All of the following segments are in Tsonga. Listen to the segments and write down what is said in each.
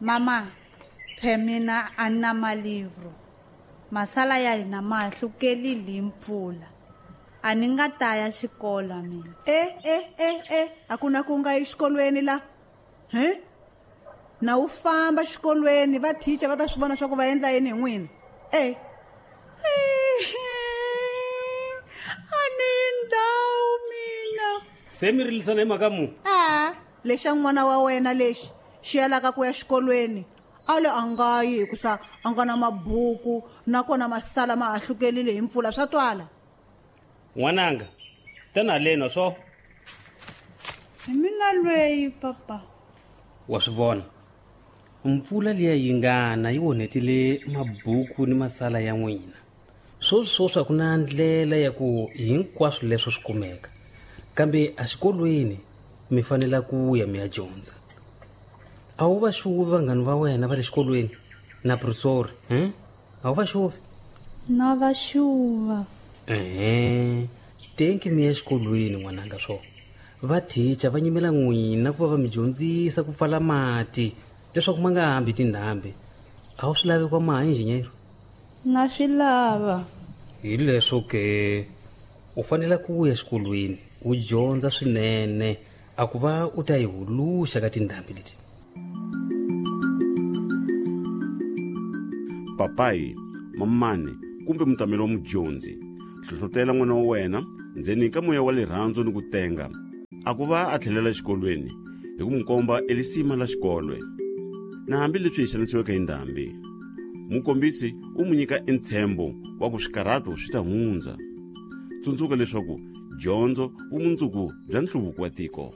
Mama, phe mina a ni na malivro. Masala ya hina ma hlukelile hi mpfula. A ni nga ta ya xikolo mina. E e e e a ku na ku nga yi xikolweni la. He? Na wu famba xikolweni va teacher va ta swi vona swa ku va endla yini hi n'wina. E. A ni ndhawu mina. Se mi rilisana hi mhaka mu? A, lexa n'wana wa wena lexi xi yalaka ku ya xikolweni. A le a nga yi hikusa a nga na mabuku nakona masala ma hahlukelile hi mpfula swa twala. N'wananga, tana haleni swo. Hi mina lweyi papa. Wa swi vona. Mpfula liya yi ngana yi onhetile mabuku ni masala ya n'wina. Swoswi swoswi a ku na ndlela ya ku hinkwaswo leswo swi kumeka. Kambe exikolweni mi fanele ku ya mi ya dyondza. A wu va xuvi vanghani va wena va le xikolweni na professor, he? A wu va xuvi? Na va xuva. Ehe, tenki mi ya exikolweni n'wananga swo. Va teacher va nyimela n'wina ku va va mi dyondzisa ku pfala mati leswaku ma nga hambi tindhambi. A wu swi lavi kwa maha engineer? Na swi lava. Hi leswo ke u fanele ku ya exikolweni u dyondza swinene a ku va u ta yi huluxa ka tindhambi leti. Papayi, mamani kumbe mutameli wa mudyondzi, hlohlotela n'wana wa wena ndzeni ka moya wa rirhandzu ni ku tenga a ku va a tlhelela exikolweni hi ku n'wi komba elisima la xikolwe. Na hambileswi hi xanisiweke hi ndhambi, mukombisi u n'wi nyika entshembo wa ku swikarhato swi ta hundza. Tsundzuka leswaku dyondzo vumundzuku bya nhluvuko wa tiko.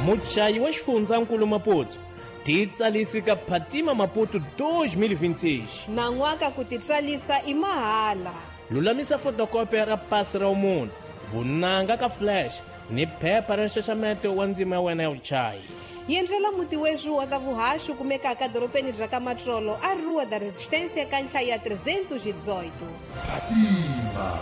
Muchayi wa xifundzankulu Maputo titsalisi ka Phatima Maputo 2026. Nan'waka ku titswalisa i mahala. Lulamisa fotokopi ra pasi ra munhu, vunanga ka flash ni phepha ra nxaxameto wa ndzima ya wena ya vuchayi. Yendlela muti wexu wa ta vuhaxi kumekaka dorobeni bya ka Matsolo a Rua da Resistência ka nhlayo ya 318. Phatima.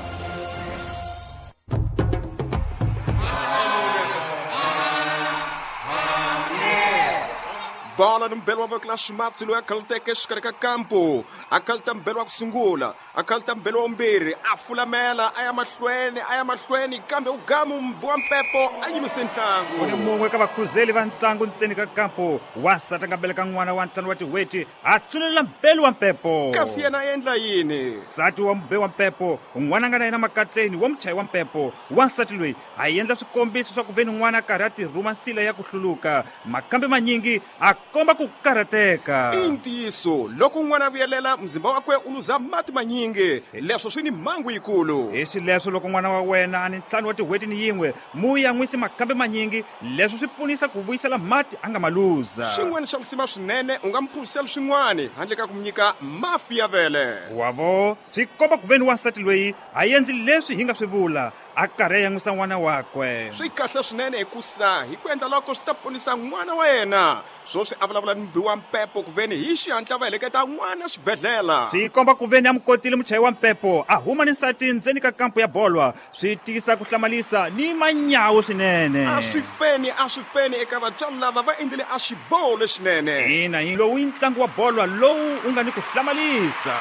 Bola ni mbelo wa voko la ximatsi loyi a khaluteke exikarhi ka kampu, a khaluta mbelo wa ku sungula, a khaluta mbelo wa vumbirhi, a fulamela a ya mahlweni, a ya mahlweni, kambe u gamu wa mpepo a yimise ntlangu. U ni mun'we ka vakhuzeli va ntlangu ntseni ka kampu, wansati a nga beleka n'wana wa ntlhanu wa tin'hweti, a tsulela mbelu wa mpepo. Kasi yena a endla yini? Nsati wa mube wa mpepo, n'wana a nga na yena makatleni wa muchayi wa mpepo, wansati loyi a endla swikombiso swa ku ve ni n'wana a karhi a tirhuma nsila ya ku hluluka, makambe manyingi a komba ku karhateka. I ntiyiso, loko n'wana a vuyelela, muzimba wakwe u luza mati manyingi, leswo swi ni mhangu yikulu. Hi xileswo loko n'wana wa wena a ni ntlhanu wa tin'hweti ni yin'we, mu yan'wisi makambe manyingi, leswo swi pfunisa ku vuyisela mati a nga ma luza. Xin'wana xa risima swinene, u nga mu phuzisela swin'wana handle ka ku mu nyika mafi ya vele. Wavo, swi komba ku ve ni wansati loyi a endli leswi hi nga swi vula, a karhi a yan'wisa n'wana wakwe. Swi kahle swinene hikusa hi ku endla loko swi ta ponisa n'wana wa yena. Swoswi a vulavula ni mubi wa mpepo ku veni hi xihatla va heleketa n'wana xibedhlele. Swi komba ku veni a mu kotile muchayi wa mpepo a huma ni nsati ndzeni ka kampu ya bolwa, swi tiyisa ku hlamalisa ni manyawu swinene. A swi feni, a swi feni eka vatswari lava va endlile a xiboho lexinene. Ina, hi lowu i ntlangu wa bolwa lowu wu nga ni ku hlamalisa.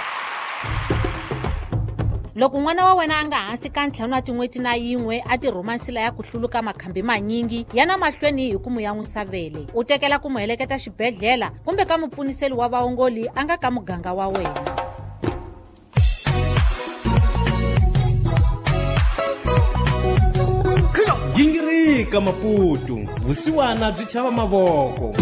Loko n'wana wa wena a nga hansi ka ntlhanu wa tin'hweti na yin'we a tirhuma nsila ya ku hluluka makhambi manyingi, yana mahlweni hi ku mu yan'wisa vele, u tekela ku mu heleketa xibedhlele kumbe ka mupfuniseli wa vaongoli a nga ka muganga wa wena. Gingirika Maputo, vusiwana byi chava mavoko.